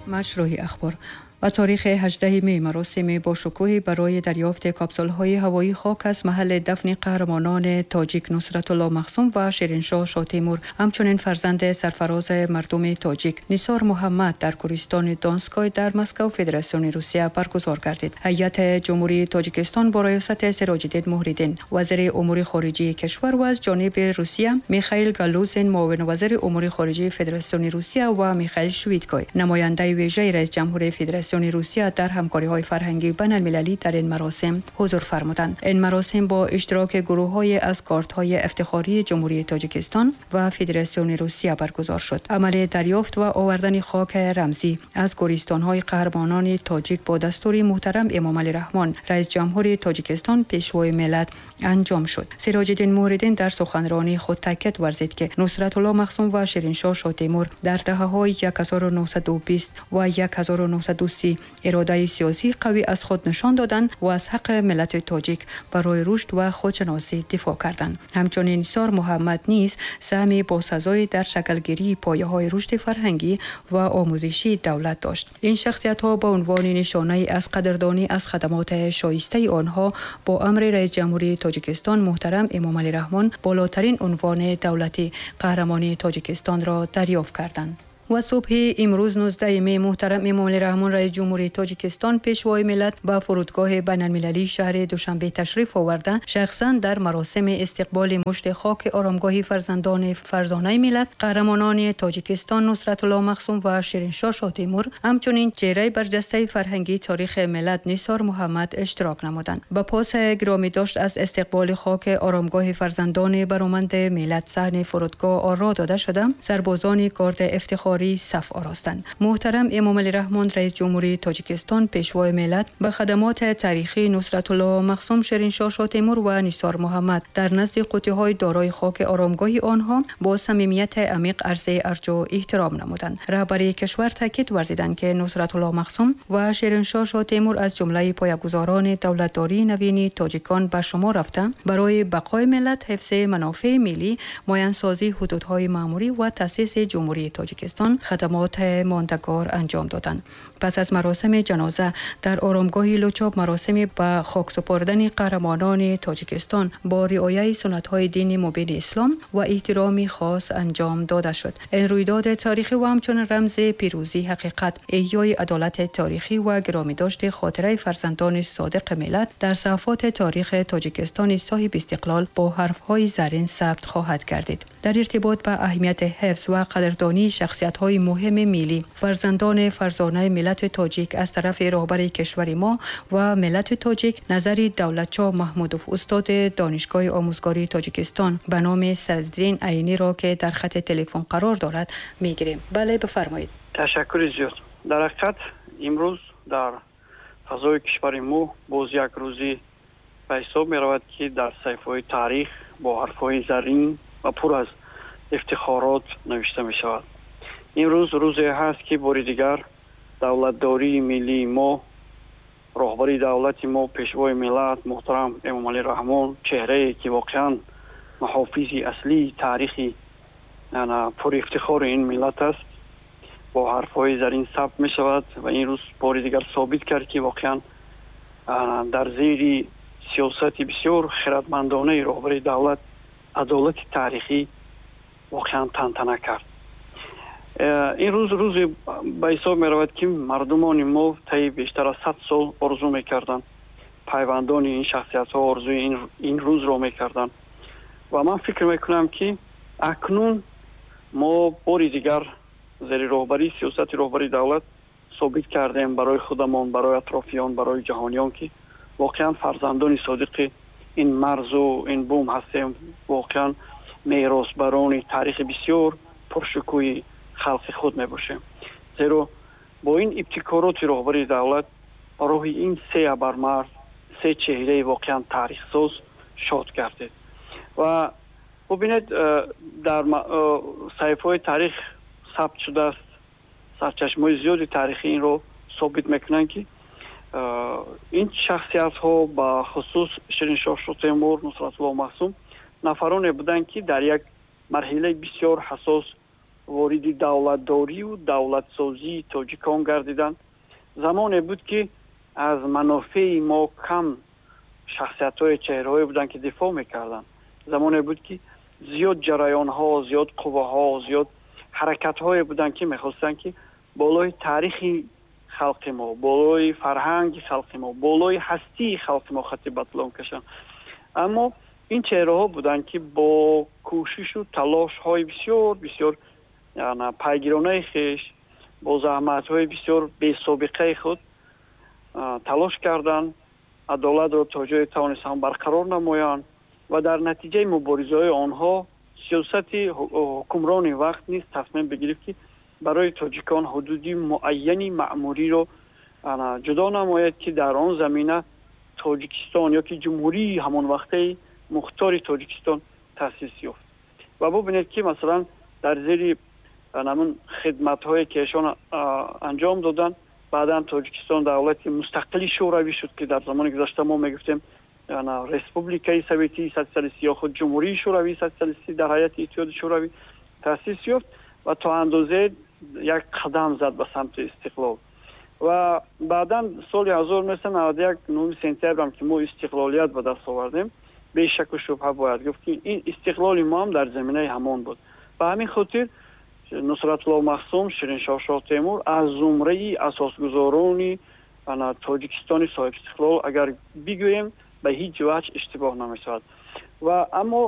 مشروح اخبار. و تاریخ 18 می مراسم باشکوهی برای دریافت کاپسول‌های هوایی خاک از محل دفن قهرمانان تاجیک نصرت‌الله مخصوم و شیرینشاه شاتیمور، همچنین فرزند سرفراز مردم تاجیک نثار محمد در گورستان دانسکای در مسکو فدراسیون روسیه برگزار گردید. هیئت جمهوری تاجیکستان با ریاست سراج‌الدین مهریدین وزیر امور خارجه کشور و از جانب روسیه میخائیل گالوزین معاون وزیر امور خارجه فدراسیون روسیه و میخائیل شویدکای نماینده ویژه رئیس جمهور فدراسیون روسیه در همکاری‌های فرهنگی بین‌المللی در این مراسم حضور فرمودند. این مراسم با اشتراک گروه‌های از کارت‌های افتخاری جمهوری تاجیکستان و فدراسیون روسیه برگزار شد. عمل دریافت و آوردن خاک رمزی از گورستان‌های قهرمانان تاجیک با دستور محترم امام علی رحمان رئیس جمهوری تاجیکستان پیشوای ملت انجام شد. سراج‌الدین مهریدین در سخنرانی خود تاکید ورزید که نصرت‌الله مخصوم و شیرینشاه شاتیمور در دهه‌های 1920 و 1930 اراده سیاسی قوی از خود نشان دادند و از حق ملت تاجیک برای رشد و خودشناسی دفاع کردند. همچنین نثار محمد نیز سهم باسزایی در شکلگیری پایه‌های رشد فرهنگی و آموزشی دولت داشت. این شخصیت‌ها به عنوان نشانه از قدردانی از خدمات شایسته آنها با امر رئیس جمهوری تاجیکستان محترم امام علی رحمان بالاترین عنوان دولتی قهرمانی تاجیکستان را دریافت کردند. و صبح امروز 19 می محترم امام علی رحمان رئیس جمهوری تاجیکستان پیشوای ملت به فرودگاه بین‌المللی شهر دوشنبه تشریف آورده، شخصا در مراسم استقبال مشت خاک آرامگاه فرزندان فرزانه ملت قهرمانان تاجیکستان نصرت‌الله مخصوم و شیرینشاه شاتیمور، همچنین چهره برجسته فرهنگی تاریخ ملت نثار محمد اشتراک نمودند. به پاس گرامی داشت از استقبال خاک آرامگاه فرزندان برومند ملت صحن فرودگاه آرا داده شده، سربازان گارد افتخار صف آراستند. محترم امام علی رحمان رئیس جمهوری تاجیکستان پیشوای ملت به خدمات تاریخی نصرت‌الله مخصوم، شیرینشاه شاتیمور و نثار محمد در نزد قوطی‌های دارای خاک آرامگاه آنها با صمیمیت عمیق عرض ارج و احترام نمودند. رهبری کشور تاکید ورزیدند که نصرت‌الله مخصوم و شیرینشاه شاتیمور از جمله پایه‌گذاران دولتداری نوین تاجیکان به شما رفته، برای بقای ملت، حفظ منافع ملی، معین‌سازی حدودهای ماموری و تأسیس جمهوری تاجیکستان خدمات ماندگار انجام دادند. پس از مراسم جنازه در آرامگاه لوچاب مراسم به خاک سپردن قهرمانان تاجیکستان با رعایت سنت‌های دین مبین اسلام و احترام خاص انجام داده شد. این رویداد تاریخی و همچنین رمز پیروزی حقیقت، احیای عدالت تاریخی و گرامی داشت خاطره فرزندان صادق ملت در صفحات تاریخ تاجیکستان صاحب استقلال با حرف‌های زرین ثبت خواهد گردید. در ارتباط به اهمیت حفظ و قدردانی شخصیت های مهم ملی فرزندان فرزانه ملت تاجیک از طرف رهبر کشور ما و ملت تاجیک نظر دولتشاه محمودوف استاد دانشگاه آموزگاری تاجیکستان به نام صدرالدین عینی را که در خط تلفن قرار دارد میگیریم. بله بفرمایید. تشکر زیاد. در حقیقت امروز در فضای کشور ما باز یک روزی به حساب می رود که در صفحه‌های تاریخ با حرف‌های زرین و پر از افتخارات نوشته می شود. این روز روزی هست که باری دیگر دولتداری ملی ما، راهبری دولت ما، پیشوای ملت محترم امام علی رحمان، چهره‌ای که واقعا محافظ اصلی تاریخی پر افتخار این ملت است، با حرف‌های زرین ثبت می شود و این روز باری دیگر ثابت کرد که واقعا در زیر سیاست بسیار خردمندانه راهبری دولت عدالت تاریخی واقعا تنتنه کرد. این روز روزی به حساب می رود که مردمان ما طی بیشتر از 100 سال آرزو می کردند، پیوندان این شخصیت ها آرزوی این روز را می کردند و من فکر می کنم که اکنون ما باری دیگر زیر راهبری سیاست راهبری دولت ثابت کردیم برای خودمان، برای اطرافیان، برای جهانیان که واقعا فرزندان صادق این مرز و این بوم هستیم، واقعا میراثبران تاریخ بسیار پرشکوه خلق خود می باشیم. زیرا با این ابتکارات راهبری دولت راه این سه ابرمرد، سه چهره واقعا تاریخ ساز شاد گردید. و ببینید در صحیفه‌های تاریخ ثبت شده است، سرچشمه‌های زیادی تاریخی این رو ثابت میکنن که این شخصیت ها با خصوص شیرینشاه شوتیمور، نصرت‌الله مخصوم نفرانی بودند که در یک مرحله بسیار حساس Вориди давлатдорию давлатсозии тоҷикон гардиданд. Замоне буд, ки аз манофеи мо кам шахсиятҳои, чеҳраҳое буданд, ки дифоъ мекарданд. Замоне буд, ки зиёд ҷараёнҳо, зиёд қувваҳо, зиёд ҳаракатҳое буданд, ки мехостанд, ки болои таърихи халқи мо, болои фарҳанги халқи мо, болои ҳастии халқи мо хати батлон кашанд. Аммо ин чеҳраҳо буданд, ки бо кӯшишу талошҳои бисёр бисёр пайгиронаи хеш, бо заҳматҳои бисёр бесобиқаи худ талош карданд, адолатро то ҷое тавонистанд барқарор намоянд ва дар натиҷаи муборизаҳои онҳо сиёсати ҳукмрони вақт низ тасмим бигирифт, ки барои тоҷикон ҳудуди муайяни маъмуриро ҷудо намояд, ки дар он замина Тоҷикистон ё ки ҷумҳурии ҳамон вақтаи мухтори Тоҷикистон таъсис ёфт. Ва бубинед, ки масалан дар зери ҳамун хидматҳое, ки эшон анҷом доданд, баъдан Тоҷикистон давлати мустақили шӯравӣ шуд, ки дар замони гузашта мо мегуфтем Республикаи Советии Социалистӣ ё худ Ҷумҳурии Шӯравии Социалистӣ дар ҳайати Иттиҳоди Шӯравӣ таъсис ёфт ва то андозе як қадам зад ба самти истиқлол. Ва баъдан соли 1991, 9 сентябрам, ки мо истиқлолият ба даст овардем, бешаку шубҳа бояд гуфт, ки ин истиқлоли мо ҳам дар заминаи ҳамон буд. Ба ҳамин хотир Нусратулло Махсум, Шириншоҳ Шоҳтемур аз зумраи асосгузорони Тоҷикистони соҳибистиқлол агар бигӯем, ба ҳеҷ ваҷҳ иштибоҳ намешавад. Ва аммо